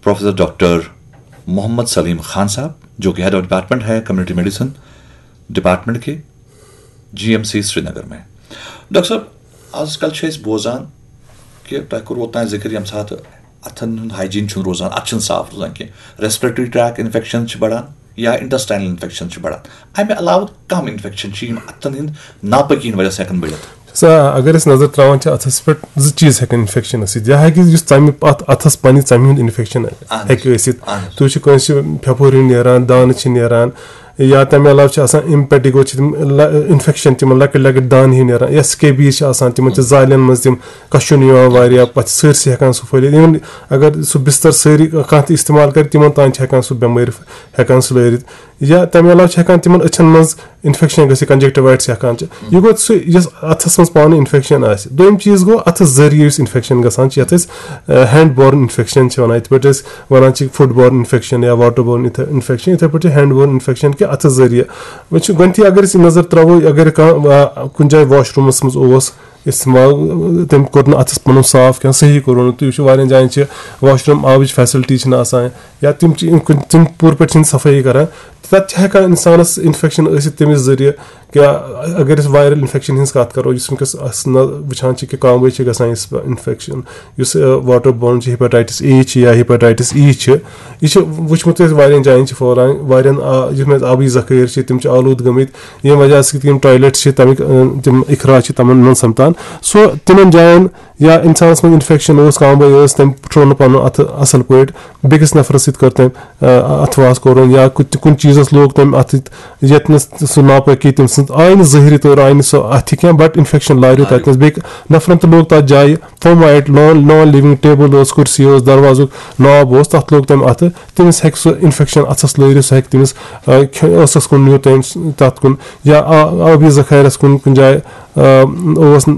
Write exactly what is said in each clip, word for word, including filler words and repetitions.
Professor doctor Mohammad Salim Khan साहब, जो कि हेड ऑफ डिपार्टमेंट है कम्युनिटी मेडिसिन डिपार्टमेंट के जीएमसी श्रीनगर में। डॉक्टर साहब, आजकल چھِ أسۍ بوزان کہِ تۄہہِ کوٚروٕ اوٚتام ذِکر، ییٚمہِ ساتہٕ اَتھن ہُنٛد ہایجیٖن چھُنہٕ روزان، اَتھٕ چھِنہٕ صاف روزان کینٛہہ، ریسپریٹری ٹریک انفیکشن چھِ بڑان یا انٹسٹائنل انفیکشن چھِ بڑان۔ اَمہِ علاوٕ کم انفیکشن چھِ یِم اَتھن ہٕنٛدۍ ناپٲکی ہٕنٛدۍ وجہ سۭتۍ ہٮ۪کان بٔڑِتھ؟ سا، اگر أسۍ نظر ترٛاوان چھِ اَتھس پٮ۪ٹھ، زٕ چیٖز ہٮ۪کن انفیکشن ٲسِتھ۔ یا ہیٚکہِ یُس ژَمہِ، اَتھ اَتھس پننہِ ژَمہِ ہُنٛد انفیکشن اہن حظ۔ ہیٚکہِ ٲسِتھ۔ اہن حظ۔ تُہۍ وٕچھِو، کٲنٛسہِ چھِ پھٮ۪پھُر ہیوٗ نیران، دانہٕ چھِ نیران، یا تَمہِ علاوٕ چھِ آسان اِمپیٹیگو چھِ تِم لا-، انفیکشن، تِمن لۄکٕٹۍ لۄکٕٹۍ دانہٕ ہیوٗ نیران، یا سکیبیٖز چھِ آسان، تِمن چھِ زالٮ۪ن منٛز تِم کَشُن یِوان واریاہ، پَتہٕ چھِ سٲرسٕے ہٮ۪کان سُہ پھٔہلِتھ۔ Even اگر سُہ بِستر سٲری کانٛہہ تہِ استعمال کرِ، تِمن تام چھِ ہٮ۪کان سُہ بٮ۪مٲرۍ ہٮ۪کان سُہ لٲرِتھ۔ یا تَمہِ علاوٕ چھِ ہٮ۪کان تِمن أچھن منٛز انفیکشن گٔژھِتھ، کنجکٹیوایٹس ہٮ۪کان چھِ۔ یہِ گوٚو سُہ، یُس اَتھس منٛز پانہٕ انفیکشن آسہِ۔ دوٚیِم چیٖز گوٚو اَتھس ذٔریعہٕ یُس انفیکشن گژھان چھِ، یَتھ أسۍ ہینڈ بورن انفیکشن چھِ وَنان، یِتھ پٲٹھۍ أسۍ وَنان چھِ فُڈ بورن انفیکشن یا واٹر بورن انفیکشن، یِتھے پٲٹھۍ چھِ ہینڈ بورن انفیکشن کہِ اَتھس ذٔریعہٕ۔ وۄنۍ چھِ گۄڈٕنٮ۪تھٕے اگر أسۍ یہِ نظر ترٛاوو، اگر کانٛہہ، آ، کُنہِ جایہِ واش روٗمس منٛز اوس، استعمال، تٔمۍ کوٚر نہٕ اَتھَس پَنُن صاف کینٛہہ، صحیح کوٚرُن نہٕ۔ تُہۍ وٕچھِو، واریاہَن جایَن چھِ واش روٗم آبٕچ فیسَلٹی چھِنہٕ آسان، یا تِم چھِ یِم کُنہِ، تِم پوٗرٕ پٲٹھۍ چھِنہٕ صفٲیی کَران، تَتہِ چھِ ہٮ۪کان اِنسانَس اِنفٮ۪کشَن ٲسِتھ تَمہِ ذٔریعہٕ۔ کیٛاہ اگر أسۍ وایرَل اِنفٮ۪کشَن ہٕنٛز کَتھ کَرو، یُس وٕنکٮ۪س أسۍ نہ وٕچھان چھِ کہِ کانٛہہ وٲنٛسہِ چھِ گژھان یُس اِنفٮ۪کشَن، یُس، آ، واٹر بورن چھِ، ہیپیٹائٹس اے چھِ یا ہیپیٹائٹس ای چھِ، یہِ چھِ وٕچھمُت اَسہِ واریاہَن جایَن چھِ پھٔہلان، واریاہَن، آ، یِم اَسہِ آبٕچ ذخٲیِر چھِ، تِم چھِ آلوٗدٕ گٔمٕتۍ، ییٚمہِ وجہ سۭتۍ یِم ٹویلیٹ چھِ، تَمِکۍ، آ، تِم اخراج چھِ تِمَن منٛز سَپدان۔ سو تِمَن جایَن یا اِنسانَس منٛز اِنفٮ۪کشَن اوس، کانٛہہ بٲے ٲس، تٔمۍ پھُٹرو نہٕ پَنُن اَتھٕ اَصٕل پٲٹھۍ، بیٚکِس نَفرَس سۭتۍ کٔر تٔمۍ، آ، اَتھٕ واس کوٚرُن، یا کُ-، کُنہِ چیٖزَس لوگ تٔمۍ اَتھٕ، ییٚتہِ نَس سُہ ناپٲکی تٔمۍ سٕنٛز آیہِ نہٕ ظٲہری طور آیہِ نہٕ سُہ اَتھِ کینٛہہ، but اِنفٮ۪کشَن لاریو تَتہِ نَس۔ بیٚیہِ نَفرَن تہِ لوگ تَتھ جایہِ، فومائٹ، نان، نان لِونگ ٹیبٕل ٲس، کُرسی ٲس، دروازُک ناب اوس، تَتھ لوگ تٔمۍ اَتھٕ، تٔمِس ہیٚکہِ سُہ اِنفٮ۪کشَن اَتھَس لٲرِتھ، سُہ ہیٚکہِ تٔمِس، آ، کھے-، ٲسَس کُن نیوٗ تٔمۍ س-، تَتھ کُن، یا آ-، آبی ذخٲیرَس کُن کُنہِ جایہِ، آ، اوس، آ،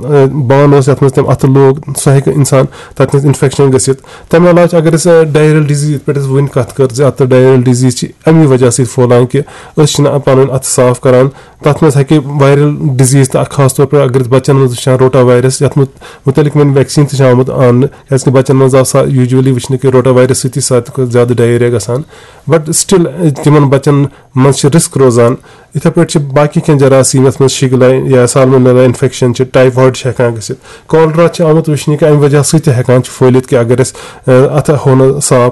بانہٕ اوس یَتھ منٛز تٔمۍ اَتھٕ لوگ، سُہ ہیٚکہِ اِنسان تَتہِ نَس اِنفٮ۪کشَن گٔژھِتھ۔ تَمہِ علاوٕ چھِ، اگر أسۍ، آ، ڈایرل ڈِزیٖز یِتھ پٲٹھۍ اَسہِ وٕنۍ کَتھ کٔر زِ اَتھ ڈایرل ڈِزیٖز چھِ اَمی وجہ سۭتۍ پھٔہلان کہِ أسۍ چھِنہٕ پَنٕنۍ اَتھٕ صاف کَران۔ تَتھ منٛز ہیٚکہِ وایرل ڈِزیٖز تہٕ خاص طور پٲٹھۍ اگر أسۍ بَچَن منٛز وٕچھان روٹا وایرس، یَتھ مُت-، مُتعلِق وۄنۍ ویکسیٖن تہِ چھِ آمُت اَننہٕ، کیٛازِکہِ بَچَن منٛز آو سا یوٗجؤلی وٕچھنہٕ کہِ روٹا وایرس سۭتی چھِ ساروی کھۄتہٕ زیادٕ ڈایریا گژھان۔ But still، تِمَن بَچَن منٛز چھِ رِسک روزان۔ یِتھَے پٲٹھۍ چھِ باقٕے کینٛہہ جراثیٖم، یَتھ منٛز شِگلا یا سالمونیلا اِنفٮ۪کشَن چھِ، ٹایفایڈ چھِ ہٮ۪کان گٔژھِتھ، کالرا چھِ آمُت وٕچھنہٕ کہِ اَمہِ وجہ سۭتۍ تہِ ہٮ۪کان چھِ پھٔہلِتھ کہِ اگر أسۍ، اَ، اَتھٕ ہو نہٕ صاف۔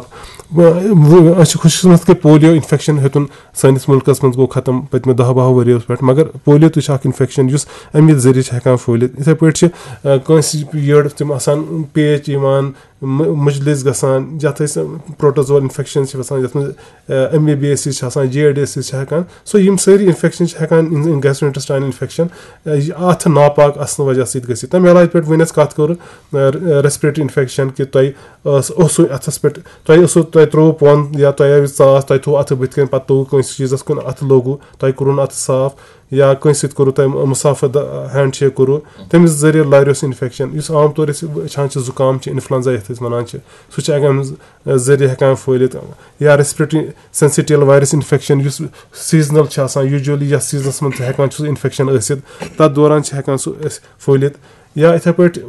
وۄنۍ، وۄنۍ، أسۍ چھِ خوش قسمت کہِ پولیو اِنفٮ۪کشَن ہیوٚتُن سٲنِس مُلکَس منٛز گوٚو ختم پٔتمہِ دَہ بَہو ؤرِیو پٮ۪ٹھ، مگر پولیو تہِ چھُ اَکھ اِنفٮ۪کشَن یُس اَمی ذٔریعہٕ چھِ ہٮ۪کان پھٔہلِتھ۔ یِتھَے پٲٹھۍ چھِ، آ، کٲنٛسہِ یٔڈ تِم آسان پیچ یِوان، م-، مُجلِس گژھان، یَتھ أسۍ پروٹوزول اِنفٮ۪کشَن چھِ وَسان، یَتھ منٛز، آ، ایم بی بی ایسز چھِ آسان، جے ڈی ایسز چھِ ہٮ۪کان۔ سو یِم سٲری اِنفٮ۪کشَن چھِ ہٮ۪کان اِن-، گیسٹرو اِنٹیسٹاینل اِنفٮ۪کشَن، آ، یہِ اَتھٕ ناپاک آسنہٕ وجہ سۭتۍ گٔژھِتھ۔ تَمہِ علاوٕ یِتھ پٲٹھۍ وۄنۍ اَسہِ کَتھ کٔر، آ، ریسپریٹری اِنفٮ۪کشَن کہِ تۄہہِ ٲس، اوسوٕ اَتھَس پٮ۪ٹھ، تۄہہِ اوسوٕ، تۄہہِ ترٛووُ پۄنٛد یا تۄہہِ آوِ ژاس، تۄہہِ تھوٚوُ اَتھٕ بٕتھِ کَنۍ، پَتہٕ توٚوُ کٲنٛسہِ چیٖزَس کُن اَتھٕ لوگوُ، تۄہہِ کوٚرُو نہٕ اَتھٕ صاف، یا کٲنٛسہِ سۭتۍ کوٚرُو تۄہہِ مُصافہٕ دَ-، ہینڈ شیک کوٚرُو، تٔمِس ذٔریعہٕ لاریو سُہ اِنفٮ۪کشَن۔ یُس عام طور أسۍ وٕچھان چھِ، زُکام چھِ، اِنفلوئنزا یَتھ أسۍ وَنان چھِ، سُہ چھُ اَمہِ ذٔریعہٕ ہٮ۪کان پھٔہلِتھ۔ یا ریسپریٹری سینسیٹیل وایرس اِنفٮ۪کشَن، یُس سیٖزنَل چھِ آسان، یوٗجؤلی یَتھ سیٖزنَس منٛز چھِ ہٮ۪کان چھُ سُہ اِنفٮ۪کشَن ٲسِتھ، تَتھ دوران چھِ ہٮ۪کان سُہ أسۍ پھٔہلِتھ۔ یا یِتھَے پٲٹھۍ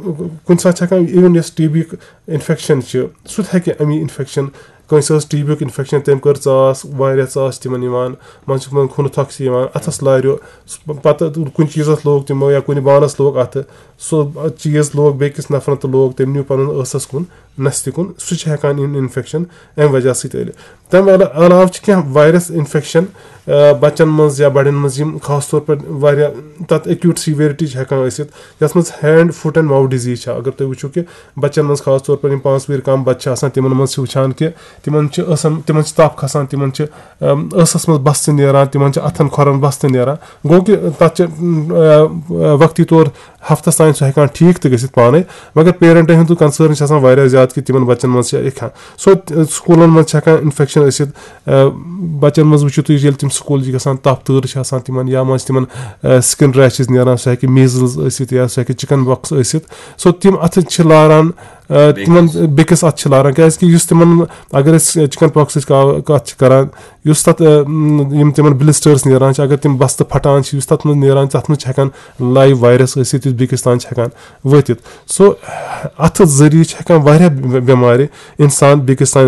کُنہِ ساتہٕ چھِ ہٮ۪کان even یۄس ٹی بی یُک اِنفٮ۪کشَن چھِ، سُہ تہِ ہٮ۪کہِ اَمی اِنفٮ۪کشَن، کٲنٛسہِ ٲس ٹی بی یُک اِنفٮ۪کشَن، تٔمۍ کٔر ژاس، واریاہ ژاس چھِ تِمَن یِوان، منٛزٕ چھِ تِمَن خوٗنہٕ تھۄکھ چھِ یِوان، اَتھَس لاریو، سُہ پَتہٕ کُنہِ چیٖزَس لوگ تِمو یا کُنہِ بانَس لوگ اَتھٕ، سُہ چیٖز لوگ بیٚکِس نَفرَن تہٕ لوگ، تٔمۍ نیوٗ پَنُن ٲسَس کُن، نَستہِ کُن، سُہ چھِ ہٮ۪کان یُن اِنفٮ۪کشَن اَمہِ وجہ سۭتۍ ٲلِتھ۔ تَمہِ علا-، علاوٕ چھِ کینٛہہ وایرَس اِنفٮ۪کشَن، آ، بَچَن منٛز یا بَڑٮ۪ن منٛز، یِم خاص طور پَر واریاہ تَتھ ایکیوٗٹ سیویرٹی چھِ ہٮ۪کان ٲسِتھ، یَتھ منٛز hand, foot and mouth disease چھِ۔ اگر تُہۍ وٕچھِو کہِ بَچَن منٛز خاص طور پَر یِم پانٛژھ وٕہٕرۍ کَم بَچہٕ چھِ آسان، تِمَن منٛز چھِ وٕچھان کہِ تِمَن چھِ ٲسَن، تِمَن چھِ تَپھ کھَسان، تِمَن چھِ، آم، ٲسَس منٛز بَستہٕ نیران، تِمَن چھِ اَتھَن کھۄرَن بَستہٕ نیران۔ گوٚو کہِ تَتھ چھِ، آ، آ، وقتی طور ہفتس تام سُہ ہٮ۪کان ٹھیٖک تہِ گٔژھِتھ پانے، مگر پیرنٹن ہُنٛد کنسرن چھِ آسان واریاہ زیادٕ کہِ تِمن بچن منٛز چھِ یہِ کھٮ۪ن۔ سو، تہِ-، سکوٗلن منٛز چھِ ہٮ۪کان انفیکشن ٲسِتھ۔ آ، بچن منٛز وٕچھِو تُہۍ، ییٚلہِ تِم سکوٗل چھِ گژھان، تپھ تۭر چھِ آسان تِمن، یا منٛز چھِ تِمن، آ، سکن ریشز نیران، سُہ ہٮ۪کہِ میٖزلز ٲسِتھ یا سُہ ہٮ۪کہِ چکن پاکس ٲسِتھ۔ سو، تِم اتھٕ چھِ لاران، آ، تِمن بیٚکِس۔ بیٚکِس اتھٕ چھِ لاران، کیازِ کہِ یُس تِمن، اگر أسۍ چکن پاکسٕچ کا-، کتھ چھِ کران، یُس تَتھ، آ، م، یِم تِمَن بلسٹٲرٕس نیران چھِ، اگر تِم بستہٕ پھٹان چھِ، یُس تَتھ منٛز نیران چھِ، تَتھ منٛز چھِ ہٮ۪کان لایِو وایرَس ٲسِتھ، یُس بیٚکِس تام چھِ ہٮ۪کان وٲتِتھ۔ سو، اَتھٕ ذٔریعہٕ چھِ ہٮ۪کان واریاہ بے-، بٮ۪مارِ اِنسان بیٚکِس تام